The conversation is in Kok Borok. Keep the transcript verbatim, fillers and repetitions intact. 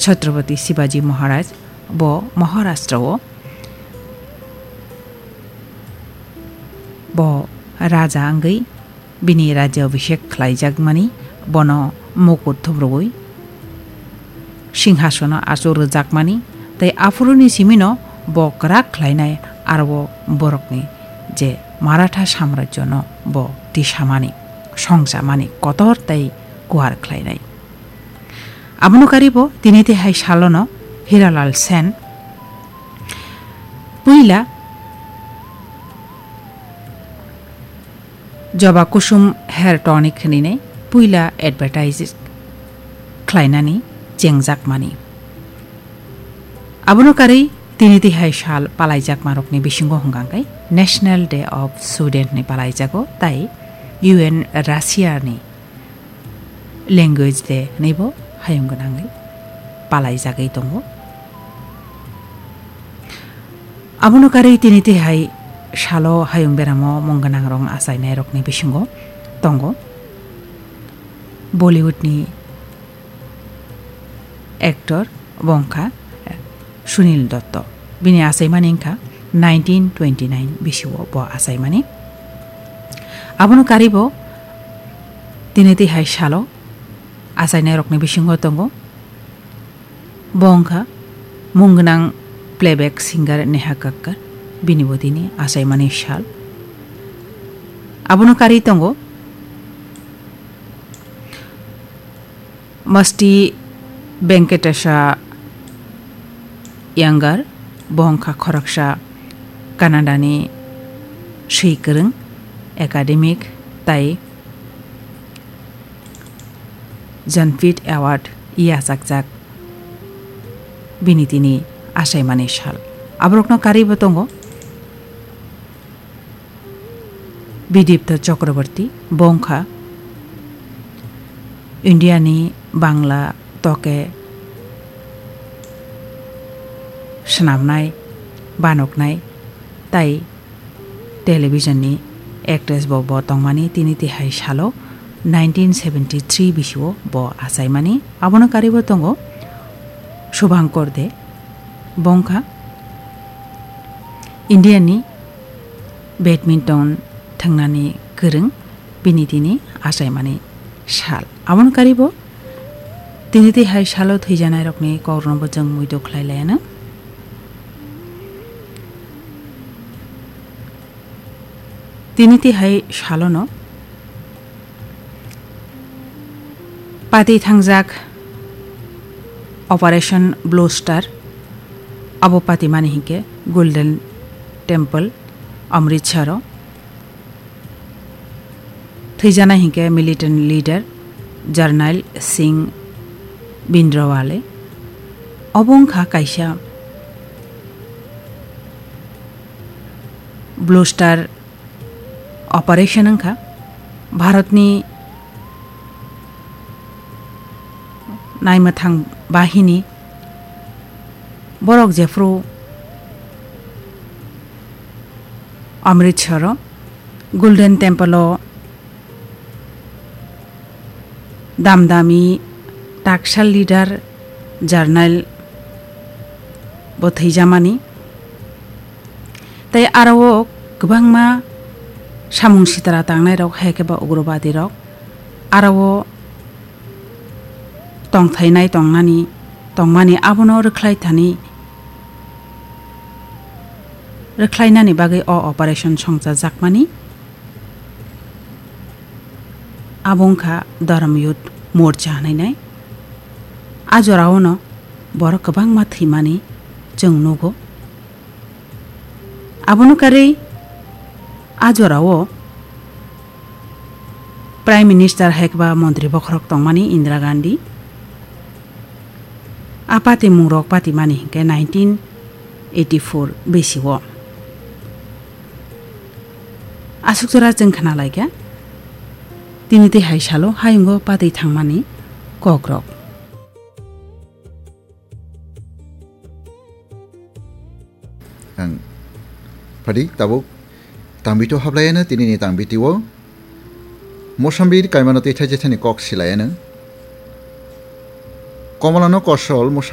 Chhatrapati Shivaji Maharaj bo Maharashtra o bo raja wngwi bini rajya abhishek khlaijakmani, bono mukut thubrugwi singhasono achuk rwjakmani, tei aphuruni simino bo kwrak khlainai, aro borokni je Maratha samrajyono bo tisamani, songchamani kotor tei kuar khlainai. Abono karibo tini tihai salono Hiralal Sen puila Joba Kusum Hair Tonic hinwi puila advertise khlainani chengjakmani. Abono karwi tini tihai sal palaijakmarokni bisingo hwnkha khe National Day of Student ni palaijago, tai U N Russia ni Language Day hinwi bo hayung gwnangwi palaijagwi tongo. Abono karwi tini tihai salo hayung beramo mung gwnangrok achainairokni bisingo tongo Bollywood ni actor bo wngkha Sunil Dotto. Bini achaimani wngkha nineteen twenty-nine bisio bo achaimani. Abono karibo tini tihai salo achainairokni bisingo tongo. Bo wngkha mung gwnang playback singer Neha Kakkar, bini bo tini achaimani sal. Abono karwi tongo Masti Venkatesa Iyengar, bo wngkha khoroksa Canada ni swi kwrwng, academic, tai Jnanpith Award yachakjak bini tini achaimani sal. Aborokno karwi bo tongo Bidipta Chakraborty, bo wngkha India ni Bangla toke swnamnai, banoknai tai television ni actress bo bo tongmani, tini tihai salo nineteen seventy three bisio bo achaimani. Abono karwi bo tongo Shubhankar De, bo wngkha India ni badminton thwngnani kwrwng, bini tini achaimani sal. Abono karwi bo tini tihai salo thwijanairokni kokrokno bo chwng muitu khlai laiya nw. Tini tihai salono pati thangjak Operation Blue Star, abo pati mani hinkhe Golden Temple, Amritsaro. Thwijana hinkhe militant leader Jarnail Singh Bhindranwale. Obo wngkha kaisa Blue Star Operation wngkha Bharatni naimwthang bahini. Borok jephru Amritsaro Golden Temple o damdami taksa leader Jarnail bo thwijamani. Tai aro o kwbangma samung sitra tangnairok, hai khe ba ugrobadi rok aro o tongthainai tongnani, tongmani abono rwkhlai thani, rwkhlainani bagwi o operation songchajakmani. Abo wngkha Dharam Youth Morcha hwnwi nai. A jorao no borok kwbangma thwimani chwng nugo. Abono karwi a jorao Prime Minister hai khe ba montri bokhorok tongmani Indira Gandhi. A pati mungrok pati mani hinkhe nineteen eighty-four besi o. Aswk jora chwng khna lai kha, tini tei hai salo hayungo patwi thangmani kokrok. Ang phadi tabuk tangbi to hablai ano tini ni tangbi tio. Mosambir kaimano tei thaijethani kok silai ano. Komolano kosol